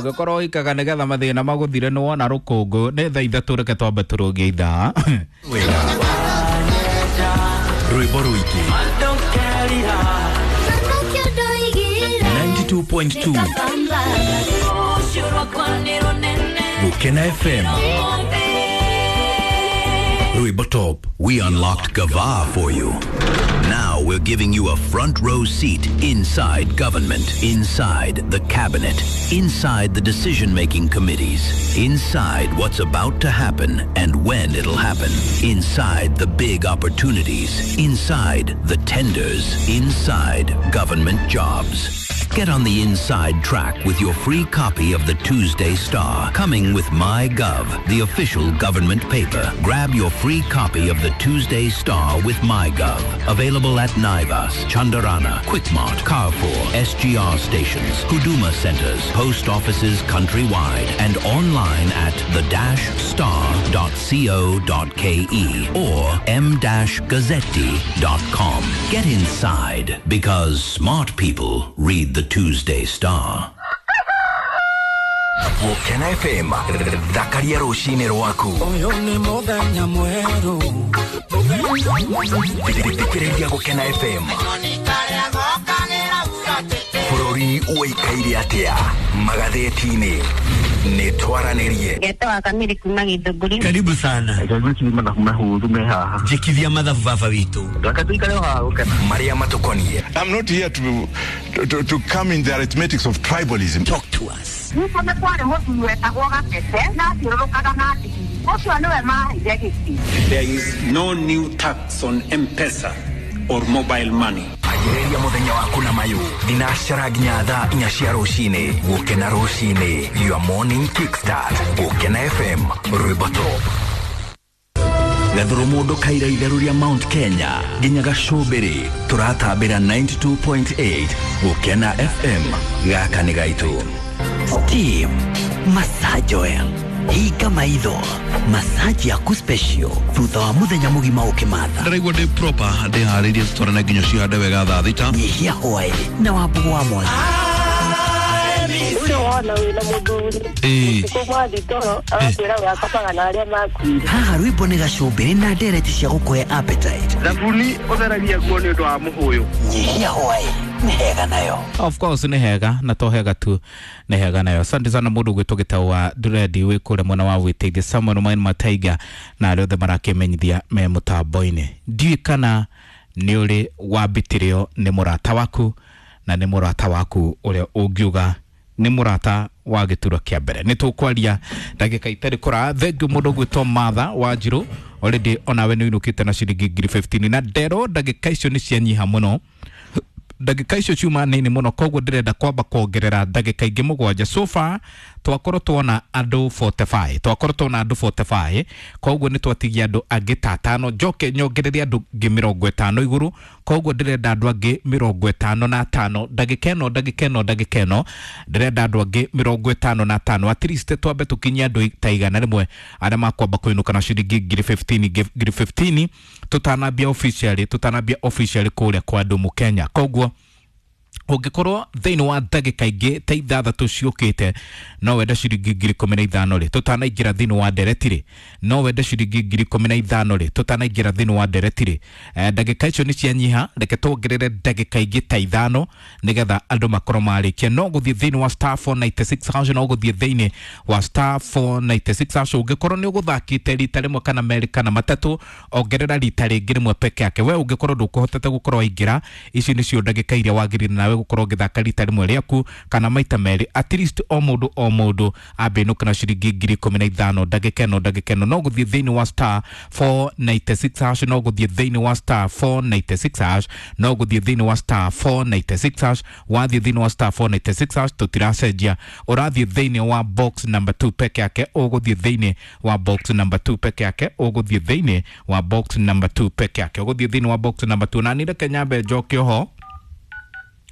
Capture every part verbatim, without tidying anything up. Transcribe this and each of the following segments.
Ũngĩkorwo ũikaga nĩgetha mathĩna magũthire nĩ wona rũkũngũ nĩ thaa ithatũ, reke twambe tũrũngie ithaa. Wega rwĩmbo rũingĩ ninety-two point two Gukena F M, rwĩmbo top. We unlocked Gava for you. Now we're giving you a front row seat inside government, inside the cabinet, inside the decision making committees, inside what's about to happen and when it'll happen, inside the big opportunities, inside the tenders, inside government jobs. Get on the inside track with your free copy of the Tuesday Star, coming with MyGov, the official government paper. Grab your free copy of the Tuesday Star with MyGov. Available at Naivas, Chandarana, Quickmart, Carrefour, S G R stations, Huduma centers, post offices countrywide, and online at the dash star dot co dot k e or m dash gazzetti dot com. Get inside, because smart people read the Tuesday Star. Gukena F M, thakaria rũcinĩ rwaku. Ũyũ nĩ mũthenya mwerũ. Thikĩrĩria Gukena F M. Bũrũri ũikaire atĩa magathĩti-inĩ? Nĩ twaranĩrie. Ngetwa Kamiri kuma Githũngũri. Karibu sana. Mathabu mahũthũ me haha. Njĩkithia mathabu baba witũ. Reke tũikare o haha gũkena. Marĩa matũkonie. I'm not here to, to, to come in the arithmetics of tribalism. Talk to us. Nĩguo nĩ kwarĩ mũthuri wetagwo Gatete na athiũrũrũkaga na ndigiri ũcio nĩwe maheire gĩtĩ. There is no new tax on M-Pesa or mobile money. Anjĩrĩria mũthenya waku na mayũ thinacara nginya thaa inya cia rũcinĩ. Gũkena rũcinĩ, your morning kickstart. Gũkena F M, rwĩmbo top. Gathuru mũndũ kaira itherũ rĩa Mount Kenya nginya gacũmbĩrĩ, tũratambĩra ninety-two point eight Gũkena F M. Gaka nĩ gaitũ. Steam Massage Oil, hinga maitho, massage yaku special thutha wa muthenya mugima ukimatha. Ndĩraigua ndĩ proper, ndĩharĩirie tũtwarane nginya cihande wega thaa thita. Nyihia hwaĩ na wambugu wa mwangi. Ũcio wona wĩna mũthuri Ĩĩ. ũtukũ mwathi toro agakwĩra we akomaga na arĩa makuire. Haha rwĩmbo nĩ gacũmbĩrĩ na ndereti cia gũkũhe appetite. Thabuni ũtheragia nguo nĩ ũndũ wa mũhũyũ. Nyihia hwaĩ nĩ hega nayo. Of course nĩ hega, na to hega tu, nĩ hega nayo. Asante sana mũndũ gwĩtwo gĩtau nduredi wĩ kũrĩa mwena wa wĩteithia Samuel Main Mataiga na arĩa othe marakĩmenyithia me mũtambo-inĩ. Ndiũĩ kana nĩ ũrĩ wambitĩrĩo nĩ mũrata waku, na nĩ mũrata waku ũrĩa ũngiuga nĩ mũrata wa gĩturwa kĩa mbere. Nĩ tũkwaria ndagĩka itarĩ kũraya. Thengiũ mũndũ gwĩtwo Martha Wanjirũ, already onawe nĩ ũinũkĩte na ciringi ngiri fifteen na ndero. Ndagĩka icio nĩ cianyiha mũno, ndagĩka icio ciuma nini mũno, koguo ndĩrenda kwamba kuongerera ndagĩka ingĩ mũgwanja. So far twakorwo tuona andũ forty-five, twakorwo tuona andũ forty-five, koguo nĩ twatigia andũ angĩ ta atano, njoke nyongererie andũ angĩ mĩrongo ĩtano igũrũ. Koguo ndĩrenda andũ angĩ mĩrongo ĩtano na atano ndagĩka ĩno, ndagĩka ĩno, ndagĩka ĩno ndĩrenda andũ angĩ mĩrongo ĩtano na atano, at least twambe tũkinyie andũ ta igana rĩmwe arĩa makwamba kũinũka na ciringi ngiri fifteen, ngiri fifteen, tũtanambia officially, tũtanambia officially kũrĩa kwa andũ mũkenya. Koguo ũngĩkorwo thĩinĩ wa ndagĩka ingĩ ta ithathatũ ciũkĩte no wende ciringi ngiri ikũmi na ithano rĩ, tũtanaingĩra thĩinĩ wa ndereti rĩ, no wende ciringi ngiri ikũmi na ithano rĩ, tũtanaingĩra thĩinĩ wa ndereti rĩ. eh, ndagĩka icio nĩ cianyiha, reke tuongerere ndagĩka ingĩ ta ithano nĩgetha andũ makorwo marĩkia. No gũthiĩ thĩinĩ wa star four nine six hash, no gũthiĩ thĩinĩ wa star four nine six hash. Ũngĩkorwo nĩ ũgũthakĩte rita rĩmwe kana merĩ kana matatũ, ongerera rita rĩngĩ rĩmwe peke yake. We ũngĩkorwo ndũkũhotete gũkorwo waingĩra, ici nĩcio ndagĩka iria wagĩrĩire nawe gũkorwo ũgĩthaka rita rĩmwe rĩaku kana maita merĩ. At least o mũndũ o mũndũ ambĩnũka na ciringi ngiri ikũmi na ithano ndagĩka ĩno, ndagĩka ĩno. No gũthiĩ thĩinĩ wa star four nine six hash, no gũthiĩ thĩinĩ wa star four nine six hash, no gũthiĩ thĩinĩ wa star four nine six hash. Wathiĩ thĩinĩ wa star four nine six hash, tũtiracenjia, ũrathiĩ thĩinĩ wa box number two peke yake, ũgũthiĩ thĩinĩ wa box number two peke yake, ũgũthiĩ thĩinĩ wa box number two peke yake, ũgũthiĩ thĩinĩ wa box number two. Na nĩ reke nyambe njoke oho,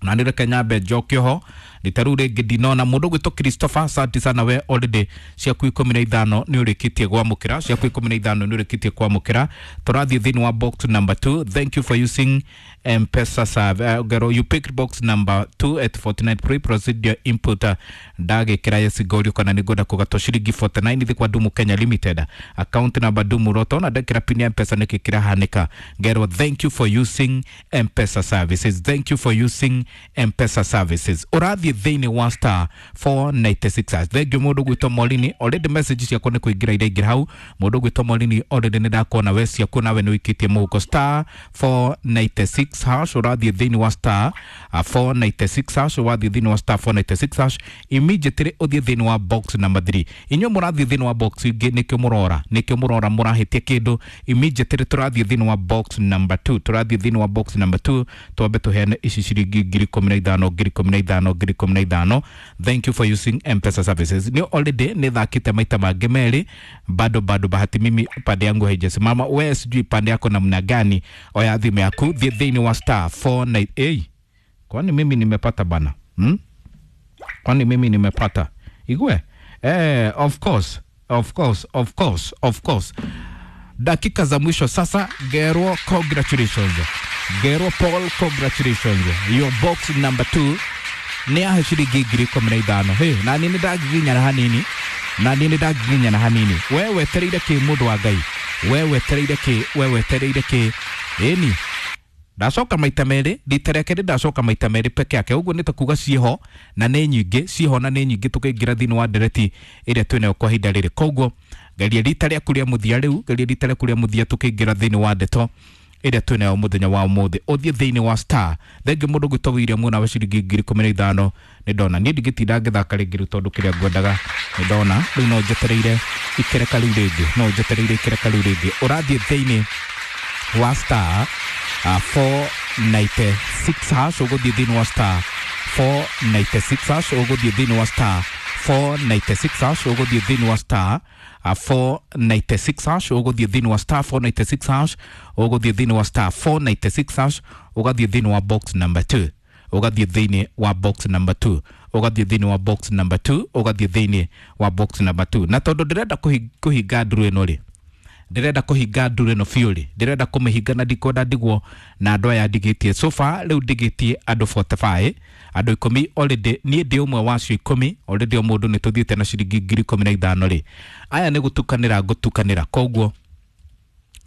na nĩ reke nyambe njoke oho. Rita rĩu rĩngĩ ndinona mũndũ gwĩtwo Christopher, asante sana we, already ciaku ikũmi na ithano nĩ ũrĩkĩtie kwamũkĩra, ciaku ikũmi na ithano nĩ ũrĩkĩtie kwamũkĩra. Tũrathiĩ thĩinĩ wa box number two. Thank you for using M-Pesa serve. Uh, gero, you picked box number two at forty-nine. Pre proceed your input. uh, ndagĩkĩra yesigorio kana nĩ ngwenda kũgatwo ciringi forty-nine thĩ kwa Dumu Kenya Limited, account number Dumu Roto, na ndekĩra pin ya M-Pesa nĩkĩ kĩrahanĩka? Ngero, thank you for using M-Pesa services, thank you for using M-Pesa services. Ũrathiĩ thĩinĩ wa star four ninety-six hash. Thank you mũndũ gwĩtwo Molini, already message ciakwa nĩ kũingĩra iraingĩra hau. Mũndũ gwĩtwo Molini, already nĩ ndakuona we ciaku nawe nĩ ũikĩtie mũhuko star four ninety-six hash. Ũrathiĩ thĩinĩ wa star uh, four ninety-six hash, ũrathiĩ thĩinĩ wa star four ninety-six hash, immediately ũthiĩ thĩinĩ wa box number three. Inyuĩ mũrathiĩ thĩinĩ wa box ingĩ nĩkĩo mũrora, nĩkĩo mũrora mũrahĩtia kĩndũ. Immediately tũrathiĩ thĩinĩ wa box number two, tũrathiĩ thĩinĩ wa box number two, twambe tũheane ici ciringi ngiri ikũmi na ithano, ngiri ikũmi na ithano, ngiri ikũmi na ithano. Thank you for using M-Pesa services. Nĩ already nĩ thakĩte maita mangĩ merĩ, bado bado bahati mimi pande yangu haijasimama, we sijui pande yako namna gani. Oya thimũ yaku, thiĩ thĩinĩ wa star four nine eight. Kwani mimi nimepata bana, hmm? Kwani mimi nimepata igwe? Eh, of course, of course, of course, of course. Dakika za mwisho sasa. Gero, congratulations. Gero Paul, congratulations. Your box number two nĩ yahe ciringi ngiri ikũmi na ithano. Hey, na nini ndagiginyana hanini, na nini ndagiginyana hanini. We wetereire kĩ mũndũ wa Ngai? We wetereire kĩ? We wetereire kĩ? Ĩni ndacoka maita merĩ, rita rĩa kerĩ ndacoka maita merĩ peke yake, ũguo nĩ ta kuga ciĩho na nĩ nyingĩ, ciĩho na nĩ nyingĩ. Tũkĩingĩra thĩinĩ wa ndereti ĩrĩa twĩnayo kwa ihinda rĩrĩ, koguo geria rita rĩaku rĩa mũthia rĩu, geria rita rĩaku rĩa mũthia tũkĩingĩra thĩinĩ wa ndeto ĩrĩa twĩnayo mũthenya wa ũmũthĩ. Ũthiĩ thĩinĩ wa star. Thengi mũndũ gwĩtwo William nawe ciringi ngiri ikũmi na ithano nĩ ndona. Niĩ ndingĩtinda ngĩthaka rĩngĩ rĩu tondũ kĩrĩa ngwendaga nĩ ndona rĩu, no njetereire ikereka rĩu rĩngĩ, no njetereire ikereka rĩu rĩngĩ. Ũrathiĩ thĩinĩ wa star uh, four ninety-six hash, ũgũthiĩ thĩinĩ wa star four ninety-six hash, ũgũthiĩ thĩinĩ wa star four ninety-six hash, ũgũthiĩ thĩinĩ wa star uh, four ninety-six hash, ũgũthiĩ thĩinĩ wa star four ninety-six hash, ũgũthiĩ thĩinĩ wa star four ninety-six hash, ũgathiĩ thĩinĩ wa box number two, ũgathiĩ thĩinĩ wa box number two, ũgathiĩ thĩinĩ wa box number two, ũgathiĩ thĩinĩ wa box number two. Na tondũ ndĩrenda kũhinga nduru ĩno rĩ, ndĩrenda kũhinga nduru ĩno biũ rĩ, ndĩrenda kũmĩhinga na ndikwenda ndigwo na andũ aya ndigĩtie. So far rĩu ndigĩtie andũ forty-five, andũ ikũmi already, niĩ ndĩ ũmwe wacio ikũmi already. O mũndũ nĩ tũthiĩte na ciringi ngiri ikũmi na ithano rĩ. Aya nĩ gũtukanĩra ngũtukanĩra, koguo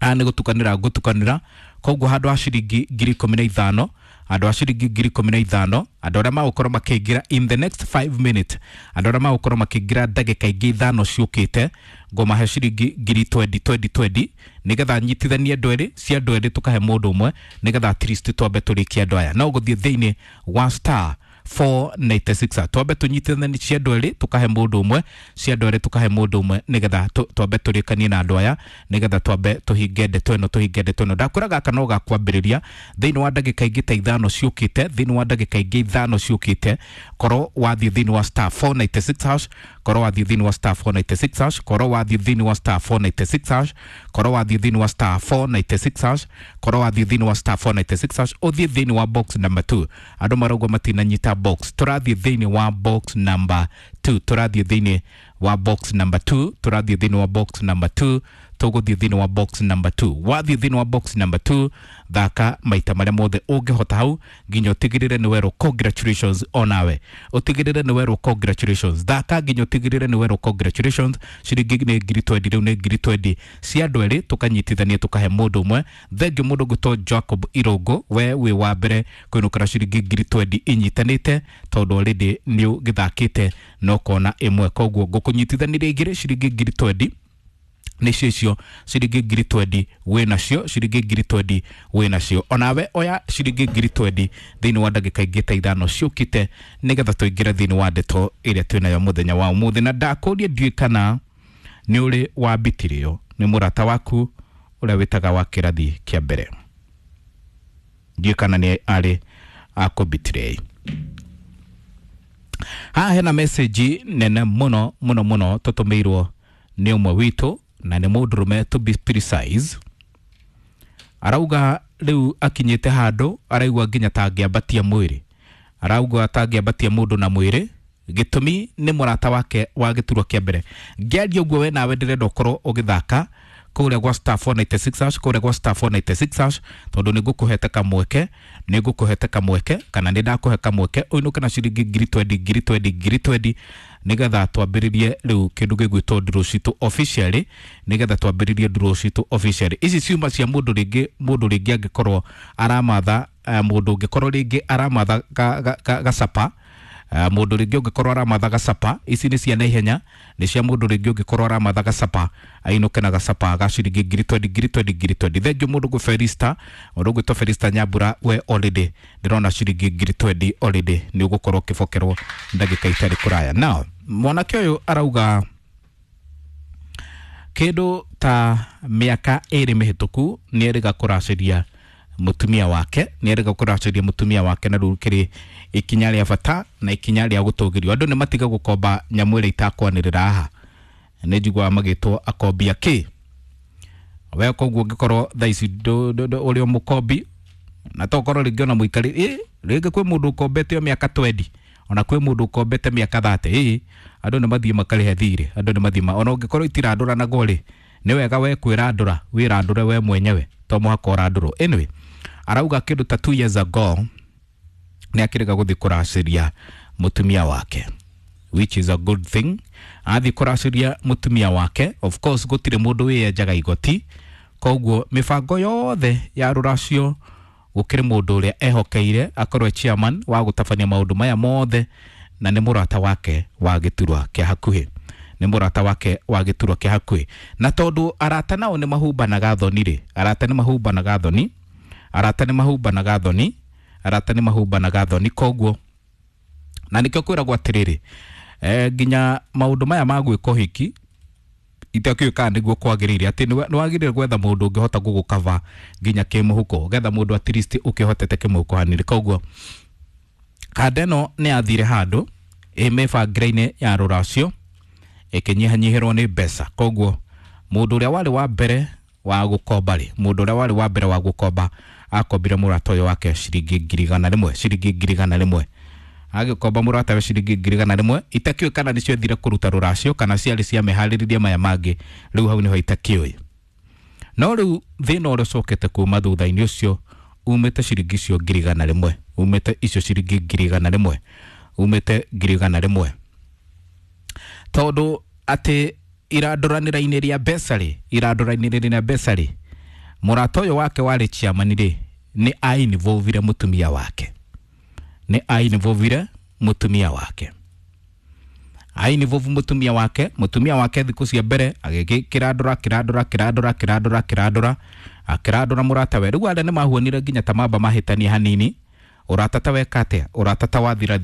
aya nĩ gũtukanĩra ngũtukanĩra, koguo handũ ha ciringi ngiri ikũmi na ithano, andũ a ciringi ngiri ikũmi na ithano, andũ arĩa magũkorwo makĩingĩra in the next five minutes, andũ arĩa magũkorwo makĩingĩra ndagĩka ingĩ ithano ciũkĩte, ngũmahe ciringi ngiri twenty twenty twenty, nĩgetha nyitithanie andũ erĩ, cia andũ erĩ tũkahe mũndũ ũmwe, nĩgetha at least twambe tũrĩkie andũ aya. No ũgũthiĩ thĩinĩ wa star four ninety-six, twambe tũnyitithanie cia andũ erĩ tũkahe mũndũ ũmwe, cia andũ erĩ tũkahe mũndũ ũmwe, nĩgetha twambe tũrĩkanie na andũ aya, nĩgetha twambe tũhinge ndeto ĩno, tũhinge ndeto ĩno. Ndakwĩra gaka no gakwambĩrĩria thĩinĩ wa ndagĩka ingĩ ta ithano ciũkĩte, thĩinĩ wa ndagĩka ingĩ ithano ciũkĩte. Korwo wathiĩ thĩinĩ wa star four ninety-six hash, korwo wathiĩ thĩinĩ wa star four ninety-six hash, korwo wathiĩ thĩinĩ wa star four ninety-six hash, korwo wathiĩ thĩinĩ wa star four ninety-six hash, korwo wathiĩ thĩinĩ wa star four ninety-six hash, ũthiĩ thĩinĩ wa box number two. Andũ marauga matinanyita box, tũrathiĩ thĩinĩ wa box number two, tũrathiĩ thĩinĩ wa box number two, tũrathiĩ thĩinĩ wa box number two, tũgũthiĩ thĩinĩ wa box number two. Wathiĩ thĩinĩ wa box number two, thaka maita marĩa mothe ũngĩhota hau nginya ũtigĩrĩre nĩ werwo congratulations onawe, ũtigĩrĩre nĩ werwo congratulations. Thaka nginya ũtigĩrĩre nĩ werwo congratulations. Ciringi nĩ ngiri twenty rĩu nĩ ngiri twenty cia andũ erĩ tũkanyitithania tũkahe mũndũ ũmwe. Thengiũ mũndũ gwĩtwo Jacob Irũngũ, we wĩ wa mbere kũinũkĩra ciringi ngiri twenty inyitanĩte, tondũ already nĩ ũgĩthakĩte na ũkona ĩmwe, koguo ngũkũnyitithanĩria igĩrĩ ciringi ngiri twenty nĩcio icio ciringi ngiri twenty wĩ nacio, ciringi ngiri twenty wĩ nacio. Onawe oya ciringi ngiri twenty thĩinĩ wa ndagĩka ingĩ ta ithano ciũkĩte, nĩgetha tũingĩre thĩinĩ wa ndeto ĩrĩa twĩnayo mũthenya wa ũmũthĩ. Na ndakũria ndiũĩ kana nĩ ũrĩ wambitirio nĩ mũrata waku ũrĩa wĩtaga wa kĩrathi kĩa mbere, ndiũĩ kana nĩ arĩ akũbitirie. Haha hena message nene mũno mũno mũno tũtũmĩirwo nĩ ũmwe witũ, na nĩ mũndũrũme to be precise. Arauga rĩu akinyĩte handũ araigua nginya ta angĩambatia mwĩrĩ, Arauga atangĩambatia mũndũ na mwĩrĩ, gĩtũmi nĩ mũrata wake wa gĩturwa kĩa mbere. Ngĩaria ũguo we nawe ndĩrenda ũkorwo ũgĩthaka kũrĩa gwa star four ninety six hash, kũrĩa gwa star four ninety six hash, tondũ nĩ ngũkũhete kamweke, nĩ ngũkũhete kamweke kana nĩ ndakũhe kamweke ũinũke na ciringi ngiri twendi ngiri twendi ngiri twendi, nĩgetha twambĩrĩrie rĩu kĩndũ gĩgwĩtwo nduro citũ officially, nĩgetha twambĩrĩrie nduro citũ officially. Ici ciuma cia mũndũ rĩngĩ, mũndũ rĩngĩ angĩkorwo aramatha, uh, mũndũ ũngĩkorwo rĩngĩ aramatha gacapa, uh, mũndũ rĩngĩ ũngĩkorwo aramatha gacapa, ici nĩ cia naihenya, nĩ cia mũndũ rĩngĩ ũngĩkorwo aramatha gacapa ainũke na gacapa ga ciringi ngiri twendi ngiri twendi ngiri twendi. Thengiũ mũndũ gwĩ Felista, mũndũ ũgwĩtwo Felista Nyambura, we already ndĩrona ciringi ngiri twendi already nĩ ũgũkorwo ũkĩbokerwo ndagĩka itarĩ kũraya. Now mwanake ũyũ arauga kĩndũ ta mĩaka ĩrĩ mĩhĩtũku nĩ erĩga kũracĩria mũtumia wake, nĩ erĩga kũracĩria mũtumia wake, na rĩu kĩrĩ ikinya rĩa bata na ikinya rĩa gũtũgĩrio. Andũ nĩ matiga gũkomba nyamũ ĩrĩa itakwanĩrĩra haha, nĩ njiguaga magĩtwo akombi akĩ. We koguo ũngĩkorwo thaa ici ũrĩ o mũkombi, na tokorwo rĩngĩ ona mũikari, ĩ rĩngĩ kwĩ mũndũ ũkombete o mĩaka twendi, ona kwĩ mũndũ ũkombete mĩaka thate, ĩ andũ nĩ mathiĩ makarĩhe thirĩ, andũ nĩ mathiĩ, ona ũngĩkorwo itirandũranagwo rĩ, nĩ wega we kwĩrandũra, wĩrandũre we mwenyewe, to mũhaka ũrandũrwo. Anyway, arauga kĩndũ ta two years ago nĩ akĩrega gũthiĩ kũracĩria mũtumia wake, which is a good thing. Athiĩ kũracĩria mũtumia wake, of course gũtirĩ mũndũ wĩyenjaga igoti, koguo mĩbango yothe ya rũracio gũkĩrĩ mũndũ ũrĩa ehokeire akorwo e chairman wa gũtabania maũndũ maya mothe, na nĩ mũrata wake wa gĩturwa kĩa hakuhĩ, nĩ mũrata wake wa gĩturwa kĩa hakuhĩ. Na tondũ arata nao nĩ mahumbanaga thoni rĩ, arata nĩ mahumbanaga thoni, arata nĩ mahumbanaga thoni, arata nĩ mahumbanaga thoni, koguo na nĩkĩo kwĩragwo atĩrĩrĩ, eh, nginya maũndũ maya ma gwĩka ũhiki itakĩũĩ kana nĩguo kwagĩrĩire, atĩ nĩ wagĩrĩire gwetha mũndũ ũngĩhota gũgũkava nginya kĩmũhuko, getha mũndũ at least ũkĩhotete kĩmũhuko hanini. Koguo kanda ĩno nĩ yathire handũ ĩ mĩbangĩre-inĩ ya rũracio ĩkĩnyihanyihĩrwo nĩ mbeca, koguo mũndũ ũrĩa warĩ wa mbere wa gũkomba rĩ, mũndũ ũrĩa warĩ wa mbere wa gũkomba akombire mũrata ũyũ wake ciringi ngiri igana rĩmwe, ciringi ngiri igana rĩmwe. Agĩkomba mũrata we ciringi ngiri igana rĩmwe, itakĩũĩ kana nĩcio ethire kũruta rũracio kana ciarĩ cia mĩharĩrĩria maya mangĩ, rĩu hau nĩho itakĩũĩ. No rĩu thĩna ũrĩa ũcokete kuma thutha-inĩ ũcio umĩte ciringi icio ngiri igana rĩmwe, umĩte icio ciringi ngiri igana rĩmwe, umĩte ngiri igana rĩmwe, tondũ atĩ irandũranĩra-inĩ rĩa mbeca rĩ, irandũranĩra rĩa mbeca rĩ, mũrata ũyũ wake warĩ chairman rĩ, nĩ ainvolvire mũtumia wake, nĩ ainvolvire mũtumia wake, ainvolve mũtumia wake, mũtumia wake thikũ cia mbere agĩkĩrandũra kĩrandũra kĩrandũra kĩrandũra kĩrandũra akĩrandũra mũrata we. Rĩu arĩa nĩ mahuanire nginya ta mamba mahĩtania hanini, ũrata ta weka atĩa, ũrata ta wathira.